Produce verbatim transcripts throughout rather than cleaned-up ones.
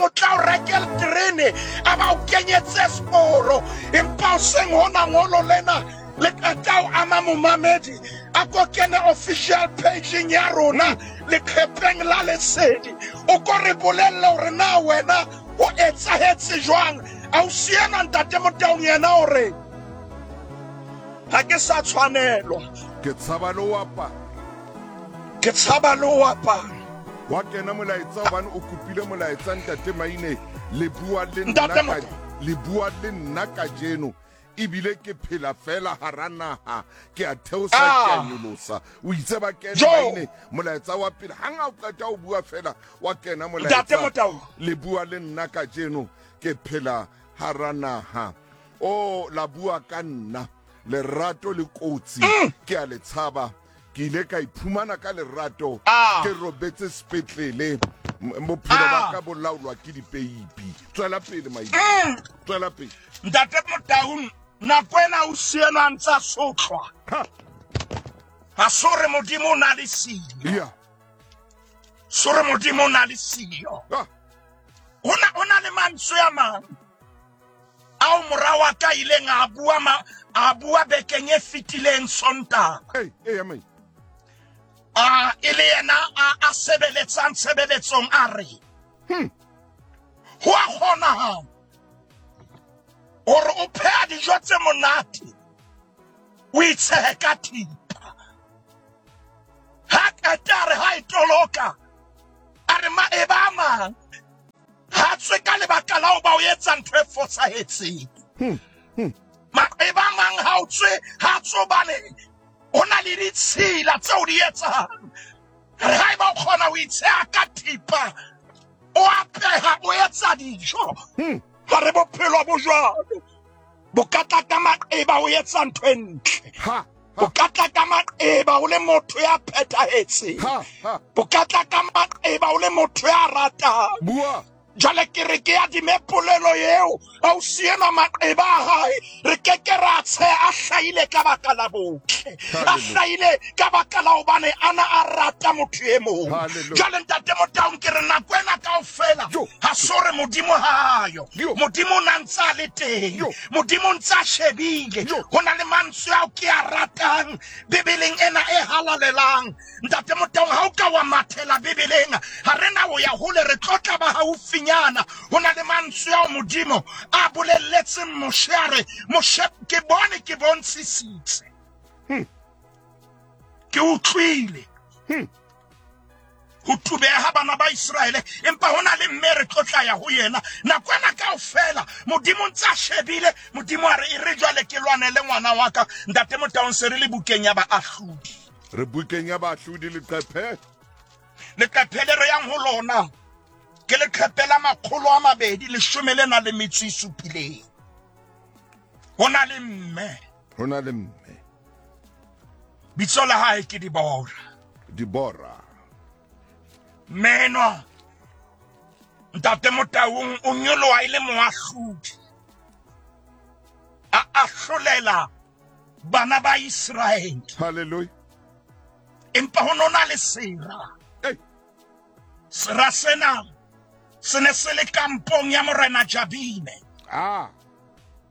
O tla o rekela terene a ba o kenyetse seporo, empa o seng hona ngolo lena le qeta o ama momamedi. A ko kene official pageng ya rona leqhepeng la Lesedi, o ko re bolelle hore na wena ho etsahetse jwang. Ausi enwa ntate Motaung yena o re ha ke sa tshwanelwa, ke tshaba le ho apara, ke tshaba le ho apara. Wa kena molaetsa hobane o kopile molaetsa ntate Maine, le bua le nna ka, le bua le nna kajeno ebile ke phela fela hara naha, ke a theosa ke a nyolosa. O itse ba kene Maine molaetsa wa pele, hang ha o qeta o bua fela wa kena molaetsa, le bua le nna kajeno ke phela hara naha. O la bua ka nna, lerato le kotsi ke a le tshaba, ke ile ka iphumana ka lerato ke robetse sepetlele, bophelo ba ka bo laolwa ke dipeipi. Tswela pele Maine, tswela pele ntate Motaung. Nako ena o sienwa a ntsa sotlwa, ha so re Modimo o na le siyo, so re Modimo o na le siyo. Ho na le mantswe a mang ao mora wa ka ileng a bua ma a bua bekeng e fetileng Sontaha. Hey, hey, amen. A e le yena a a sebeletsang tshebeletsong a re hmm. ho a kgonahala hore o pheha dijo tse monate o itshehe ka thipa. Ha qeta a re ha e toloka a re maeba a mang ha tswe ka lebaka la ho ba o etsa ntho e fosahetseng. Hmm. Hmm. Maeba a mang ha o tswe ha tswe hobane ho na le ditshila tseo di etsang. Re ha eba o kgona ho itsheha ka thipa, o apeha o etsa dijo. Hmm. Ha re bophelo bo jwalo, bo ka tla ka maqeba o etsa ntho e ntle. Bo ka tla ka maqeba o le motho ya phethahetseng. Bo ka tla ka maqeba o le motho ya ratang. Bua. Jwale ke re ke adime polelo eo, ausi enwa maqeba a hae re ke ke ra tsheha a hlahile ka baka la botle, a hlahile ka baka la hobane ana a rata motho e mong. Jwale ntate Motaung ke re nako ena kaofela ha so re Modimo ha yo, Modimo o na ntse a le teng, Modimo o ntse a shebile. Ho na le mantswe ao ke a ratang Bibeleng ena e halalelang. Ntate Motaung, ha o ka wa mathela Bibeleng, ha re na ho ya hole, re tlotla ba haufinyana. Ho na le mantswe ao Modimo a bolelletseng Moshe, a re Moshe, ke bone ke bontshisitse, hmm. ke utlwile hmm. ho tubeha bana ba Iseraele, empa ho na le mme re tlotla ya ho yena. Nako ena kaofela Modimo ntse a shebile. Modimo a re e re jwale ke lwanele ngwana wa ka. Ntate Motaung, se re le bukeng ya Baahlodi. Re bukeng ya Baahlodi leqephe, leqephe le re yang ho lona ke leqephe la makgolo a mabedi leshome le na le metso e supileng. Ho na le mme, ho na le mme, bitso la hae ke Dibora. Dibora Menwa ntate Motaung o nyoloha e le moahlodi, a ahlolela bana ba Iseraele. Hallelujah. Empa ho nona le sera. Hey. Sera sena se ne se le kampong ya morena Jabine. Ah.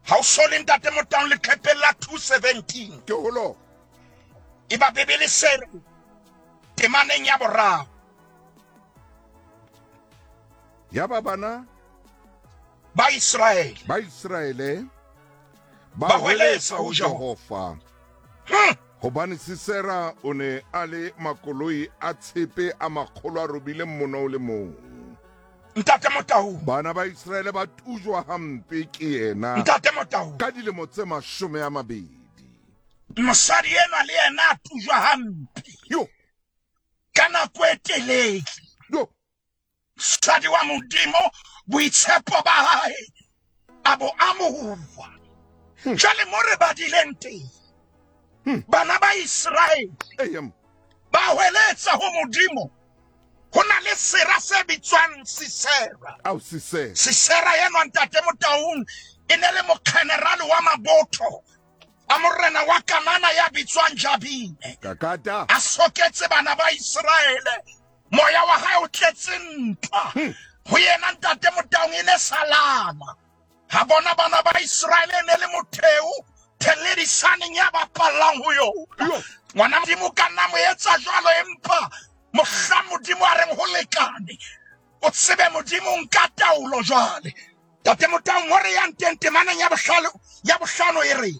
Ha o so le ntate Motaung leqhepeng la two seventeen. Ke holo. Eba Bibele se re temaneng ya boraro. Ya ba bana ba Iseraele, ba Iseraele ba hweletsa ho Jehova. Hmm. Hobane Sisera o ne a le makoloi a tshepe a makgolo a robileng mono o le mong. Ntate Motaung, bana ba Iseraele ba tujwa hampe ke yena. Ntate Motaung, ka dilemo tse mashome a mabedi. Mosadi enwa le yena a tujwa hampe. Yo. Ka nako e telele. Yo. Mosadi wa Modimo boitshepo ba hae a bo amohuwa. Jwale mo re badileng teng, bana ba Iseraele ba hweletsa ho Modimo. Ho na le sera se bitswang Sisera. Au Sisera. Sisera enwa ntate Motaung e ne le mokgenerale wa mabotho a morena wa Kanana ya bitswang Jabine. Kakata. A soketse bana ba Iseraele. Moya wa hae o tletse ntwa. Ho yena Ntate Motaung e ne salana. Ha bona bana ba Israele e ne le motheo theledisaneng ya bapallang ho yona. Ngwana Modimo ka nna mo etsa jwalo, empa mohla Modimo a reng ho lekane, o tsebe Modimo nka taolo jwale. Ntate Motaung, hore yang teng temaneng ya bohlano, ya bohlano e re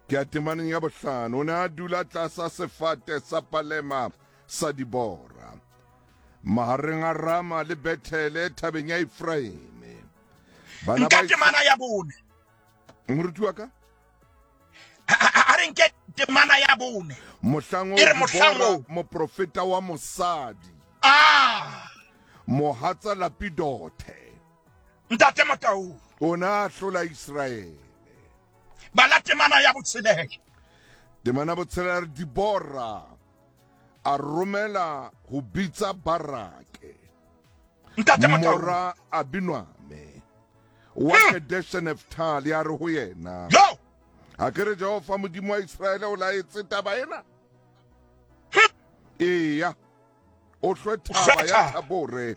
Ke a temaneng ya bohlano. O ne a dula tlasa sefate sa palema sa Dibora, mahareng a Rama le Bethele, thabeng ya Efraime. Bana nka ba temana ya bone. Moruti wa ka. A re nke temana ya bone. Mohlang E o re mohlang Dibora, oo. moprofeta wa mosadi, ah mohatsa Lapidothe, Ntate Motaung, o ne a hlola Israele. Bala temana ya botshelela. Temana botshelela re Dibora a romela ho bitsa Barake, Ntate Motaung, mora Abinoame wa Hmm. Kedeshe Neftali, a re ho yena, yo ha ke re Jehova Modimo wa Israele o laetse taba ena? Eya, o hlwe thaba ya hlwe Thabore.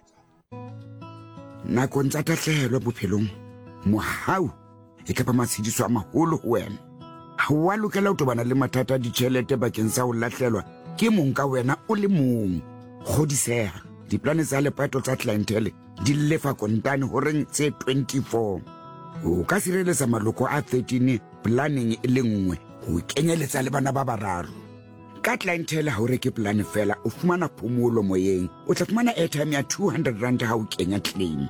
Nakong tsa tahlehelo bophelong, mohau e ka ba matshediso a maholo ho wena. Ha wa lokela ho tobana le mathata a ditjhelete bakeng sa ho lahlelwa ke mong ka wena o le mong. Kgodiseha, diplane tsa lepato tsa Clientele di lefa kontane horeng tse twenty-four. O ka sireletsa maloko a thirteen planeng e le nngwe, ho kenyeletsa le bana ba bararo. Ka Clientele ha o reke plane fela, o fumana phomolo moyeng. O tla fumana airtime ya two hundred rand ha o kenya claim.